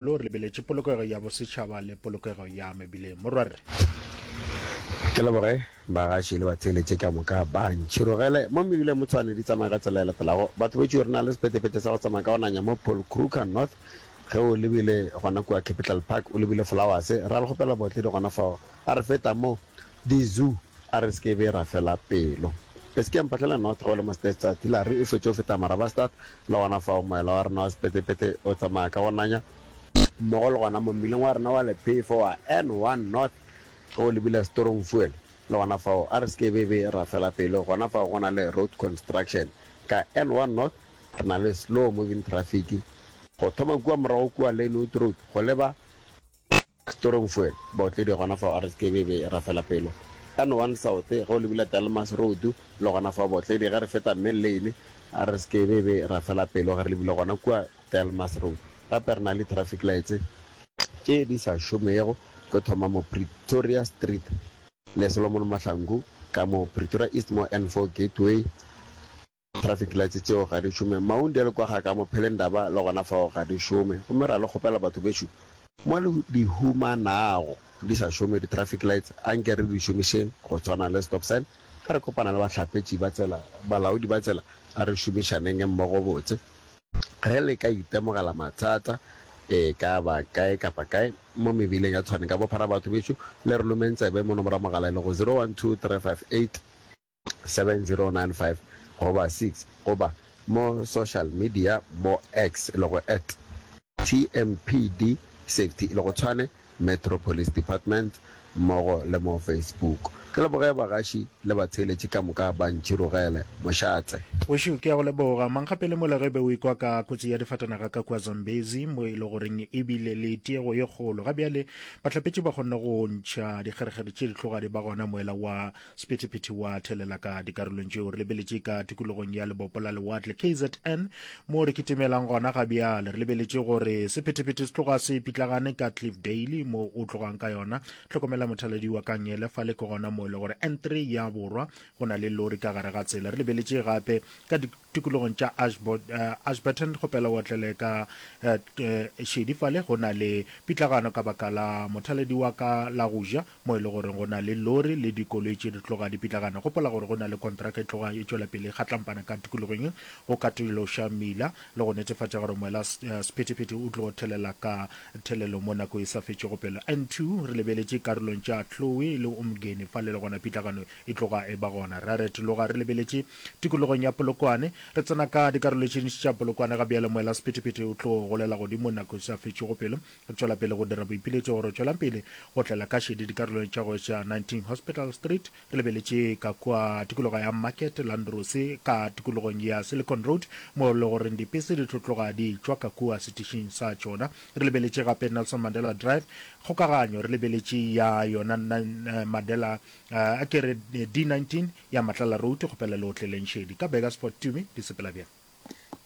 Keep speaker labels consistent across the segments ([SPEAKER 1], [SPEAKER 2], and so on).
[SPEAKER 1] Lo re lebeletše polokego ya bosetšhaba le polokego ya mebileng. Morwarre.
[SPEAKER 2] Ke leboge bagaši le batheeletše ka moka ba ntšhirogele mo mebileng mo Tshwane di tsamaya ka tsela e latelago. Batho betšo re na le sephethephethe sa go tsamaya ka go nanya mo Paul Kruger North ge o lebile gona kua Capital Park o lebile Flowers ra le kgopela botle di gona fao a re feta mo di zoo a re se ke be ra fela pelo. E se ke ya mphahlela North ge o le mo Stestad Hillary o fetše o feta Marabastad Le gona fao moela wa rena wa sepetepetepe o tsamaya ka go nanya mmogo le gona mo mmileng wa rena wa lephefo wa N1 North ge o lebile Stormfuel. Le gona fao a re se ke be be ra fela pelo, gona fao go na le road construction. Ka N1 North re na le slow moving traffic go thoma kua morago kua Lynnwood Road go leba Stormfuel, baotledi gona fao a re se ke be be ra fela pelo. N1 South ge o lebile Delmas Road le gona fao baotledi ge re feta Mill Lane a re se ke be be ra fela pelo ge re lebile gona kua Delmas Road. Gape re na le traffic lights tše di sa šomego go thoma mo Pretoria Street le Solomon Mahlangu ka mo Pretoria East mo N4 Gateway. Traffic lights tšeo ga di šome. Maundy le kwa ga ka mo Phelendaba le gona fao ga di šome. Gomme ra le kgopela batho bešo mo le di humanago di sa šome di traffic lights a nke re di šomišeng go tshwana le stop sign. Ge re kopana le bahlapetši ba tsela, balaodi ba tsela a re šomišaneng mmogo botse. Ge le ka itemogela mathata e ka ba kae kapa kae mo mebileng ya Tshwane ka bophara batho bešo le re lomeng tsebe mo nomoro ya mogala e lego 012 358 7095 goba 6 goba mo social media mo X e lego at TMPD Safety e lego Tshwane Metro Police Department mmogo le mo Facebook. Ke leboge bagaši le batheeletši ka moka ba ntšhirogele. Mošate.
[SPEAKER 1] Wešo, ke a go leboga. Mankgapele mola ge be o ekwa ka kotsi ya difatanaga ka kua Zambezi mo e le goreng e bile le tiego ye kgolo. Ga bjale bahlapetši ba kgonne go ntšha dikgerekgere tše di tloga di ba gona moela wa Sephethephethe wa thelela ka dikarolong tšeo re lebeletše ka tikologong ya lebopo la lewatle KZN mo re kitimelang gona ga bjale. Re lebeletše gore sephethephethe se tloga se pitlagane ka Cliffdale mo o tlogang ka yona. Hlokomela mothaladi wa Kangele fale ke gona mo e le gore N3 ya borwa go na le lori ka gare ga tsela. Re lebeletše gape ka tikologong tša Ashburton kgopela o otlele ka šedi fale go na le pitlagano ka baka la mothaladi wa ka la go ja mo e le gore go na le lori le dikoloi tše di tloga di pitlagana. Gopola gore go na le kontraka e tloga e tšwela pele e kgatlampana ka tikologong ye go katološa mmila le go netefatša gore moela sephethephethe o tlo thelela ka thelelo mo nako e sa fetšego pelo. N2 re lebeletše karolong tša Chloe le Umgeni fale le gona pitlagano e tloga e ba gona. Ra retologa re lebeletše tikologong ya Polokwane. Re tsena ka dikarolo tše dintši tša Polokwane ga bjale moela sephethephethe o tlo golela godimo nako e sa fetšego pelo. Re tšwela pele go dira boipiletšo gore tšwelang pele go tlela ka šedi dikarolong tša go etša 19 Hospital Street, re lebeletše ka kua tikologo ya Market, Landros ka tikologong ya Silicon Road mo le goreng dipese di tlo tloga di tšwa ka kua setišing sa tšona. Re lebeletše gape Nelson Mandela Drive, kgokaganyo re lebeletše ya yona Mandela a ke re D19 ya Matlala Road, kgopela le otleleng šedi. Ka Burgersfort Tumi di sepela bjang?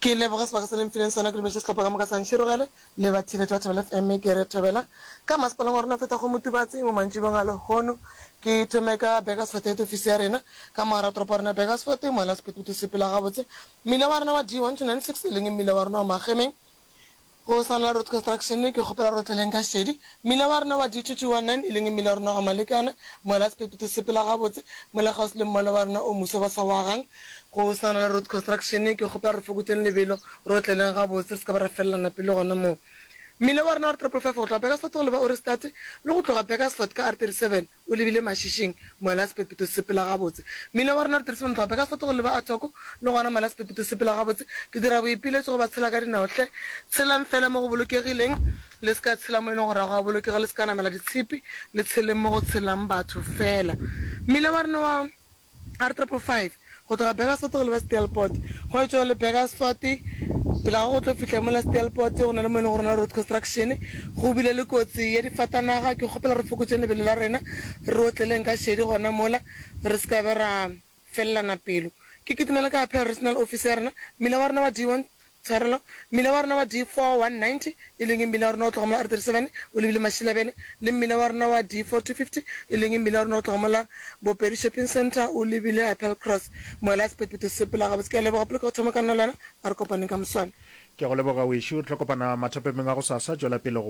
[SPEAKER 3] Ke leboge sebaka se le mfileng sona, ke dumeletše sehlopha ka moka sa Ntšhirogele le batheeletši ba Thobela FM ke re thobela ka masepaleng wa rena feta go Motubatse mo mantšibong a lehono. Ke thome ka Burgersfort head office ya rena ka mo gara toropo ya rena Burgersfort, mola sephethephethe se sepela gabotse. Mmila wa rena wa D1296 e leng mmila wa rena wa Magemeng Go sa na road construction ke kgopela re tleleng ka šedi. Mmila wa rena wa D2219 e leng mmila wa rena wa Malekana, mola sephethephethe se sepela gabotse, mola kgauswi le mmala wa rena o moso ba sa o agang. Go sa na le road construction ke kgopela re fokotšeng lebelo, re otleleng gabotse re se ka ba ra felelana pelo gona moo. Mmila wa rena wa R555 go tloga Burgersfort go leba Ohrigstad le go tloga Burgersfort ka R37 O lebile Mašišing, mola sepepeto se sepela gabotse. Mmila wa rena re dirise montlo gape ka Soto go leba Athoko, le gona mola sepepeto se sepela gabotse. Ke dira boipiletšo go ba tshela ka dinao hle, tshelang fela mo go bolokegileng, le se ka tshela mo e leng gore ga go a bolokega, le se ka namela ditshipi, le tsheleng mo go tshelang batho fela. Mmila wa rena wa. R555 go tloga Burgersfort go leba Steelpoort. Go etšwa le Burgersfort pele ga go tlo fihla mola Steelpoort go na le mo e leng gore na road construction go bile le kotsi ya difatanaga. Ke kgopela re fokotšeng lebelo la rena re otleleng ka šedi gona mola re se ka be ra felelana pelo. Ke kitimela ka Appeal Regional Office ya rena mmila wa rena wa D1 Tshwarelo, mmila wa rena wa D4190, e leng mmila wa rena wa go tloga mola R37 o lebile Mashilabele, le mmila wa rena wa D4250, e leng mmila wa rena wa go tloga mola Bopedi Shopping Centre o lebile Appel Cross. Moela sephethephethe se sepela gabotse. Ke a leboga poloko ya go thoma ka nna le wena. A re kopaneng ka moswane.
[SPEAKER 1] Ke a go leboga wešo. Re tlo kopana mathapemeng a gosasa. Tšwela pele go.